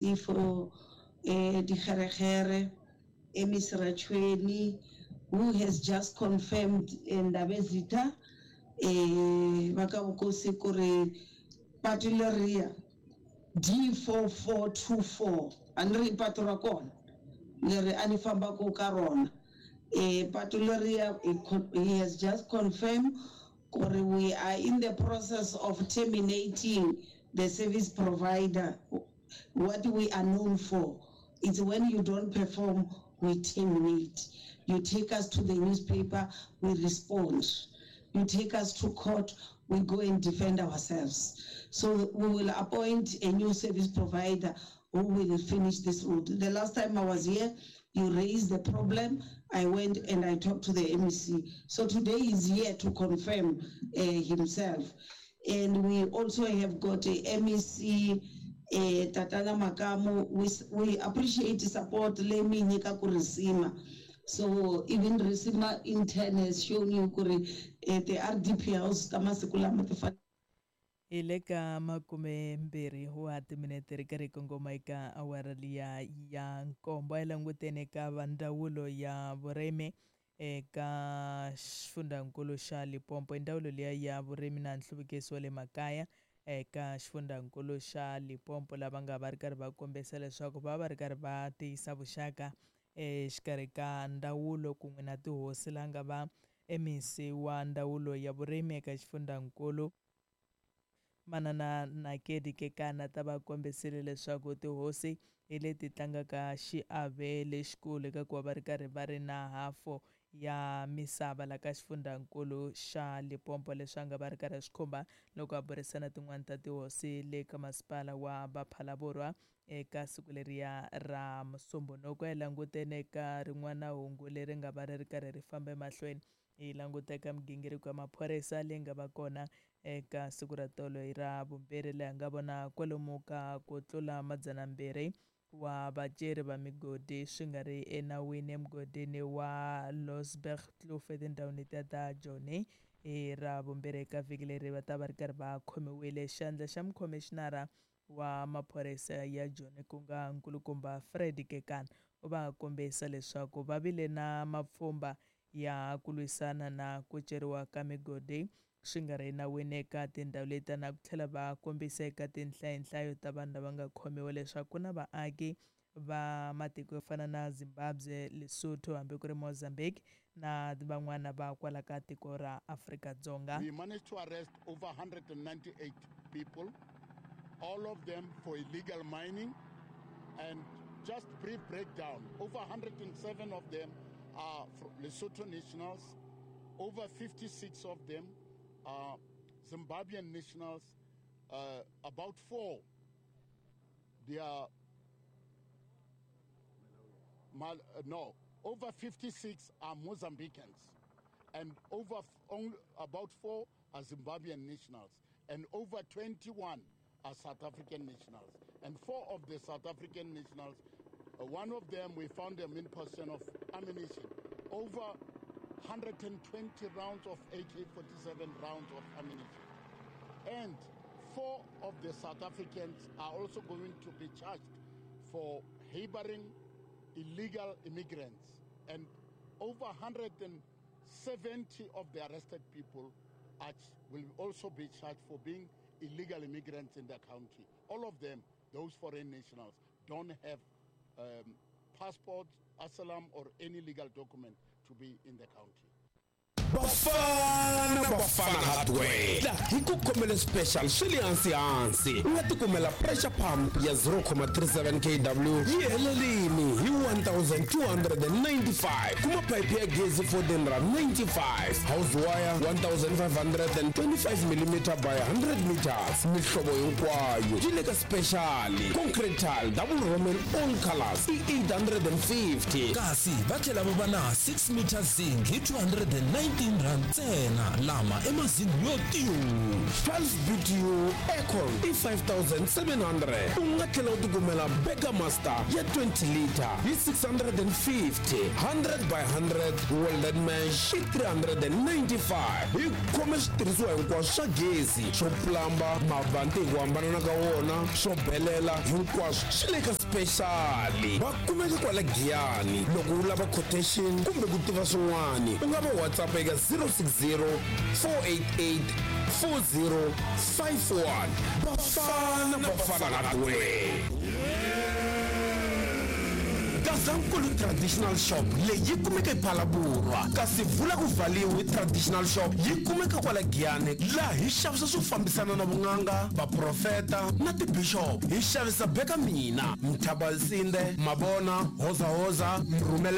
For Dikgerekgere, Emmys Ratshweni, who has just confirmed Ndabezitha ba ka bokosi kore pato leriya D4424 a ni ri i pato ra kona leri a ni fambaku ka rona pato leriya he has just confirmed kore we are in the process of terminating the service provider. What we are known for it's when you don't perform we terminate. You take us to the newspaper we respond. You take us to court we go and defend ourselves. So we will appoint a new service provider who will finish this road. The last time I was here you raised the problem I went and I talked to the MEC. So today he's here to confirm himself. And we also have got a MEC Tatana Makamu. We, we appreciate support leyi mi yi nyikaku Risima. So even Risima in turn has shown you kuri ti-RDP house ta masiku lama ti Hi le ka makumembirhi wa timinete ri karhi kongoma eka awara liya ya nkombo. A hi languteni eka va ndzawulo ya vurimi eka xifundzankulu xa Limpopo. I ndzawulo liya ya vurimi na nhluvukiso wa le makaya eka xifundzankulu xa Limpopo lava nga va ri karhi va kombisa leswaku va va ri karhi va tiyisa vuxaka exikarhi ka ndzawulo kun'we na tihosi laha nga va MEC wa ndzawulo ya vurimi eka xifundzankulu Manana Nakedi Kekana ta va kombisile leswaku tihosi hi leti tlangaka xiave lexikulu eka ku va va ri karhi va ri na hafu ya misava la ka xifundzankulu xa Limpopo leswi a nga va ri karhi a swi khumba loko a burisana tin'wani ta tihosi le ka masipala wa Baphalaborwa eka siku leriya ra Musumbhunuku. A hi languteni eka rin'wana hungu leri nga va ri ri karhi ri famba emahlweni hi languta eka migingiriko ya maphorisa leyi nga va kona eka siku ra tolo hi ra vumbirhi laha nga vona kwalomu ka ku tlula madzanambirhi wa vaceri va migodi swi nga ri enawini emugodini wa Losbergkloof etindhawini letiya ta Joni hi ra vumbirhi eka vhiki leri va ta va ri karhi va khomiwile. Xandla xa mukhomixinara wa maphorisa ya Joni ku nga nkulukumba Fred Kekana u va kombisa leswaku va vile na mapfhumba ya ku lwisana na ku ceriwa ka migodi swi nga ri enawini eka tindhawu leti na ku tlhela va kombisa eka tinhlayonhlayo ta vanhu lava nga khomiwa leswaku ku na vaaki va matiko yo fana na Zimbabwe, Lesotho hambi ku ri Mozambique na van'wana va kwala ka tiko ra Afrika-Dzonga. We managed to arrest over 198 people, all of them for illegal mining. And just brief breakdown, over 107 of them are Lesotho nationals, over 56 of them are Zimbabwean nationals, about 4, they are, no, over 56 are Mozambicans, and over only about 4 are Zimbabwean nationals, and over 21 are South African nationals. And 4 of the South African nationals, one of them, we found them in possession of ammunition, over 120 rounds of AK-47 rounds of ammunition. And 4 of the South Africans are also going to be charged for harboring illegal immigrants. And over 170 of the arrested people will also be charged for being illegal immigrants in the country. All of them, those foreign nationals, don't have passports, asylum, or any legal document to be in the country. Bafana Bafana Hardware la hi ku khomele special swi le hansi hansi u nga tikumela pressure pump ya 0.37 kW yi helelini hi 1295 kuma pipe ya gezi 1495 house wire 1525 mm by 100 meters mihlovo hinkwayo yi le ka special concrete tile double roman all colors i 850 kasi va tlhela va va na 6 meter zinc hi 299 15 rand ntsena lama i mazini yo tiyu 12 BTU aircon i 5700 u nga tlhela u tikumela Burger Master ya 20 liter hi 650 100 by 100 welded mesh i 395 hi khome switirhisiwa hinkwaswo swa gezi swo plamba mavanti hi ku hambanana ka wona swo belela hinkwaswo swi le ka special va kumeka kwala Giyani loko u lava quotation kumbe ku tiva swin'wana u nga va WhatsApp eka 060 488 4051 Bafana Bafana Hardware Gazankulu Traditional Shop leyi yi kumeka ePhalaborwa kasi vula ku vhaliwi Traditional Shop yi kumeka kwala Giyani laha hi xavisa swo fambisana na vun'anga vaprofeta na tibishop hi xavisa beka mina Mthabalsinde Mabona Hozahoza Mrhumele.